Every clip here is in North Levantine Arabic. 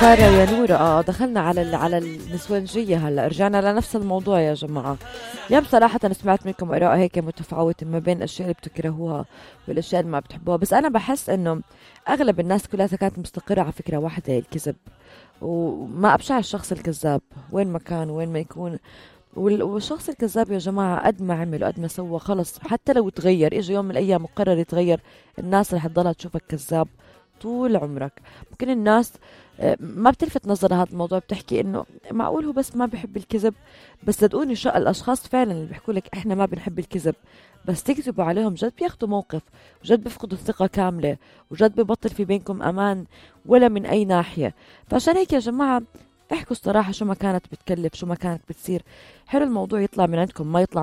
صار يا نورة دخلنا على النسوانجية. هلا رجعنا لنفس الموضوع يا جماعة. يا بصراحة أنا سمعت منكم آراء هيك متفاوتة ما بين الأشياء اللي بتكرهوها والأشياء اللي ما بتحبوها، بس أنا بحس إنه أغلب الناس كلها كانت مستقرة على فكرة واحدة، الكذب. وما أبشع الشخص الكذاب وين ما كان وين ما يكون. والشخص الكذاب يا جماعة قد ما عمل وقد ما سوى خلص، حتى لو تغير إجا يوم من الأيام مقرر يتغير، الناس رح تضلها تشوفك كذاب طول عمرك. ممكن الناس ما بتلفت نظر هذا الموضوع، بتحكي انه معقول هو بس ما بيحب الكذب، بس صدقوني الاشخاص فعلا اللي بيحكوا لك احنا ما بنحب الكذب بس تكذبوا عليهم جد بياخدوا موقف، وجد بيفقدوا الثقة كاملة، وجد ببطل في بينكم امان ولا من اي ناحية. فعشان هيك يا جماعة احكوا الصراحة، شو ما كانت بتكلف شو ما كانت بتصير، حلو الموضوع يطلع من عندكم ما يطلع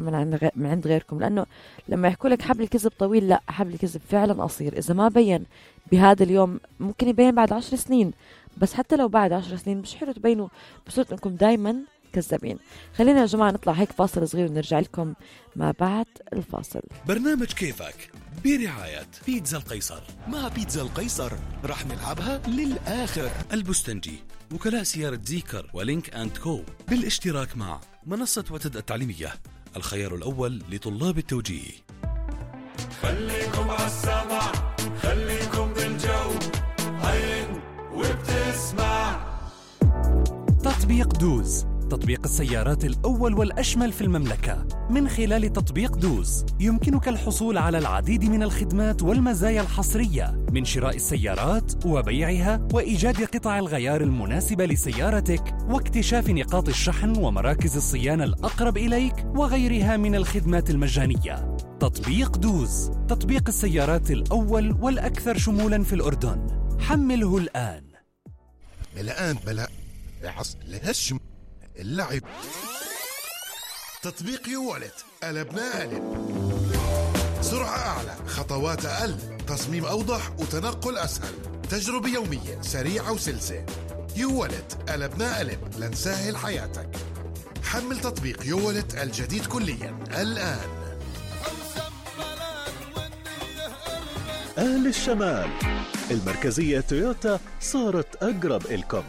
من عند غيركم. لأنه لما يحكوا لك حبل الكذب طويل، لا، حبل الكذب فعلا قصير. إذا ما بين بهذا اليوم ممكن يبين بعد 10 سنين، بس حتى لو بعد 10 سنين مش حلو تبينوا بصورة انكم دايما كذابين. خلينا يا جماعة نطلع هيك فاصل صغير ونرجع لكم ما بعد الفاصل. برنامج كيفك برعاية بيتزا القيصر. مع بيتزا القيصر رح نلعبها للآخر. البستنجي، وكلاء سيارة زيكر ولينك أند كو، بالاشتراك مع منصة وتد التعليمية، الخيار الأول لطلاب التوجيه. خليكم عالسمع، خليكم بالجو، عين وبتسمع. تطبيق دوز، تطبيق السيارات الأول والأشمل في المملكة. من خلال تطبيق دوز يمكنك الحصول على العديد من الخدمات والمزايا الحصرية، من شراء السيارات وبيعها وإيجاد قطع الغيار المناسبة لسيارتك واكتشاف نقاط الشحن ومراكز الصيانة الأقرب إليك وغيرها من الخدمات المجانية. تطبيق دوز، تطبيق السيارات الأول والأكثر شمولاً في الأردن. حمله الآن. بلا لهالشم اللعب. تطبيق يوالت، قلبنا قلب. سرعة أعلى، خطوات أقل، تصميم أوضح وتنقل أسهل، تجربة يومية سريعة وسلسة. يوالت، قلبنا قلب لنسهل حياتك. حمل تطبيق يوالت الجديد كليا الآن. أهل الشمال، المركزية تويوتا صارت أقرب إلكم.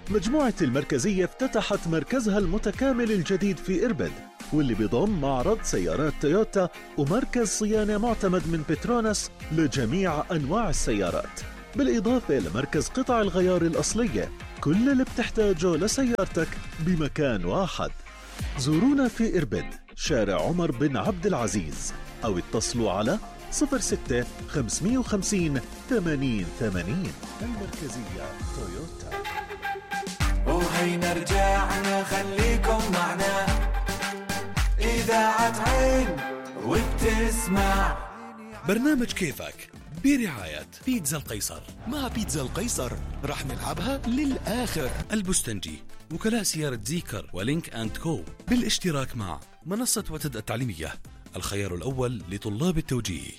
مجموعة المركزية افتتحت مركزها المتكامل الجديد في إربد، واللي بيضم معرض سيارات تويوتا ومركز صيانة معتمد من بتروناس لجميع أنواع السيارات، بالإضافة لمركز قطع الغيار الأصلية. كل اللي بتحتاجه لسيارتك بمكان واحد. زورونا في إربد، شارع عمر بن عبد العزيز، أو اتصلوا على 06 550 8080. المركزية تويوتا. وهينا رجعنا، خليكم معنا، إذاعة عين وبتسمع. برنامج كيفك برعاية بيتزا القيصر. مع بيتزا القيصر رح نلعبها للآخر. البستنجي، وكلاء سيارة زيكر ولينك أند كو، بالاشتراك مع منصة وتد التعليمية، الخيار الأول لطلاب التوجيه.